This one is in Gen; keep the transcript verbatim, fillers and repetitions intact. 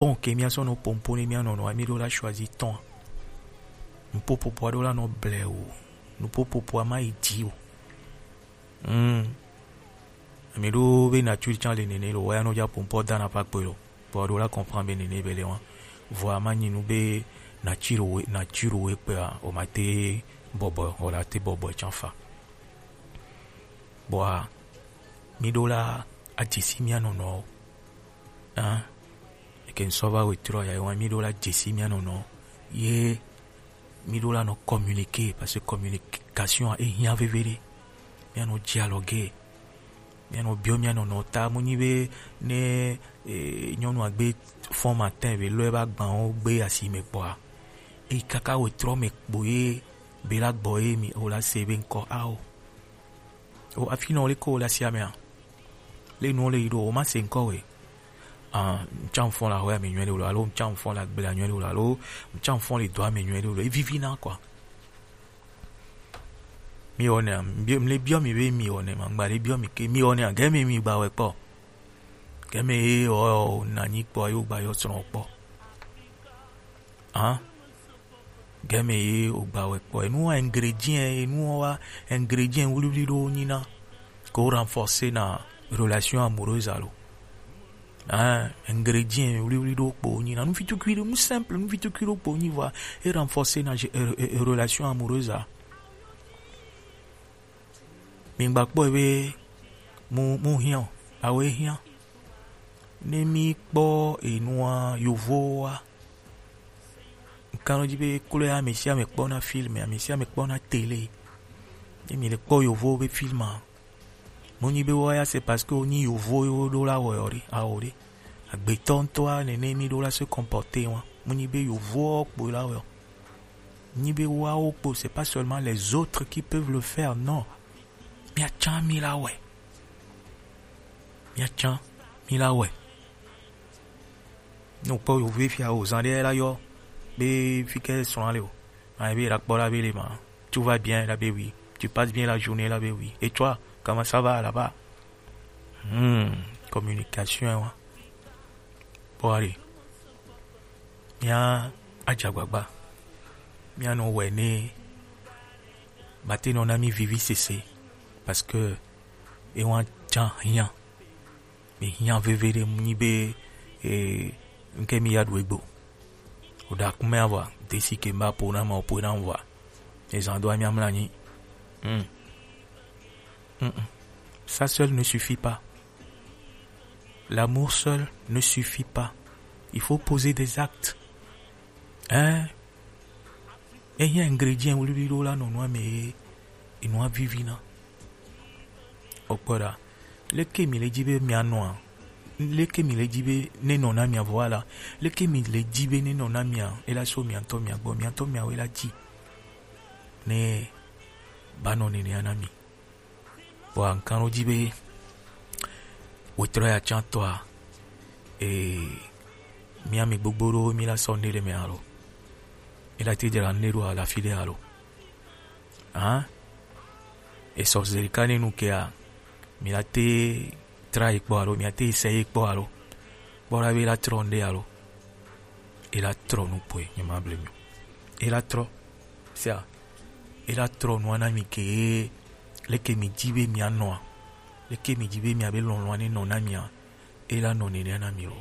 Bon, ke mia sɔ no pompo ne mia nɔnɔ, mi ɖo la choisi tɔn. Nupopopo aɖo la nɔ ble o. Nupopopo a ma yi dzi o. Hmm. Mi ɖo be nature can le nene lo, wa ya nɔ ja pompo dana pa kpe lo. Bon, aɖo la comprendre be nene be le wa. Vɔ a ma nyi nu be nature we, nature we kpe a, o ma te bɔbɔ, o la te bɔbɔ can fa. Bɔa, mi ɖo la a dzesi mia nɔnɔ. Hein? Eke ŋsɔ va wetrɔ ya, wa mi ɖo la dzesi mia nɔnɔ. Ye mi ɖo la nɔ communiquer, parce que communication e hiã veve ɖe. Mia nɔ dzi alɔ ge. Mia nɔ biɔ mia nɔnɔ ta, mu nyi be ne, eh, nyɔnu agbe fɔn matin be lɔ e ba gban wo gbe asi me kpɔa. E kaka wetrɔ me kpo ye be la gbɔ ye mi o la se be ŋkɔ ao. O afi nɔ le ko la sia mea. Le nu le yi ɖo, o ma se ŋkɔ we. Ah, ŋtsa ŋfɔn la hɔ ya me nyuie ɖe o lo, alo ŋtsa ŋfɔn la gbe la nyuie ɖe o lo, alo ŋtsa ŋfɔn le dɔ ya me nyuie ɖe o lo. Evivi na quoi. Mi wɔ ne, mi, mi le biɔ mi be mi wɔ ne ma, ŋgba le biɔ mi ke, mi wɔ ne, gɛ me mi gba wɛ kpɔ. Gɛ me ye o, o na nyi kpɔ, yo gba yo srɔ̃ kpɔ. Hein? Gɛ me ye o gba wɛ kpɔ. Enu wa ingrédient, enu wa ingrédient wliwli ɖo nyina. Ko renforcer na relation amoureuse alo. Hein, ingrédient wliwli ɖo kpo nyina. Nu vitukui ɖo, nu simple, nu vitukui ɖo kpo nyi vɔ. E renforcer na je-, e, e, e, relation amoureuse a. Mi gba kpɔ be mu, mu hiã o, awe hiã. Ne mi kpɔ enua, yovowa. Ŋkanɔ dzi be klo ya ame sia ame kpɔna film, ame sia ame kpɔna télé. Ne mi le kpɔ yovo be film a, mu nyi be wa ya c'est parce que o nyi yovo yo ɖo la wɔ ɖe, awo ɖe. Agbetɔ ŋutɔa nene mi ɖo la se comporter wa. Mu nyi be yovo kpo la wɔ. Nyi be wawo kpo, c'est pas seulement les autres qui peuvent le faire, non. Mia can mi la wɛ. Mia can mi la wɛ. Ne o kpɔ yovo fia o zan ɖe la yɔ be fi ke srɔ̃ le o. Ma be la kpɔ la be le ma. Tout va bien la be oui. Tu passes bien la journée la be oui. Et toi, comment ça va là-bas? Hmm, communication wa. Bon, allez. Mia adze agbagba. Mia nɔ wɛ ne mate nɔ na mi vivi sese. Parce que e wa can hiã. Mi hiã veve ɖe mu nyi be, eh, ŋke mi ya ɖu egbo. O ɖa kume ava, desi ke mba po na ma o po na wa. E zan do a mi amla nyi. Hmm. Mm-mm. Ça seul ne suffit pas. L'amour seul ne suffit pas. Il faut poser des actes. Hein? Ehiã ingrédient wliwli ɖo la nɔ nua me ye, enua vivi na. O kpɔ ɖa. Leke mi le dzi be mia nɔa? Leke mi le dzi be ne nɔ na mia vɔ la? Leke mi le dzi be ne nɔ na mia? E la so mia ŋutɔ mia gbɔ, mia ŋutɔ mia we la dzi. Ne ba nɔ nenea na mi. Vɔa ŋkan ɖo dzi be wetrɔ ya tsã tɔa, ee, mía mi gbogbo ɖo mí la sɔ nuɖe ɖe mɛ alo mí la te dzra nuɖe ɖo le afi ɖe alo? Hã? Esɔ zeli ka ne nu kea, mí la te tra ye kpɔ alo mí la te sɛ ye kpɔ alo kpɔ ɖa be la trɔ nuɖe alo? E la trɔ nu kpoe, nye ma ble mi o. E la trɔ. Sia, e la trɔ nua na mi ke leke mi dzi be mia nɔa, leke mi dzi be mia be lɔlɔ̃a ne nɔ na mia, e la nɔ nenea na mi o.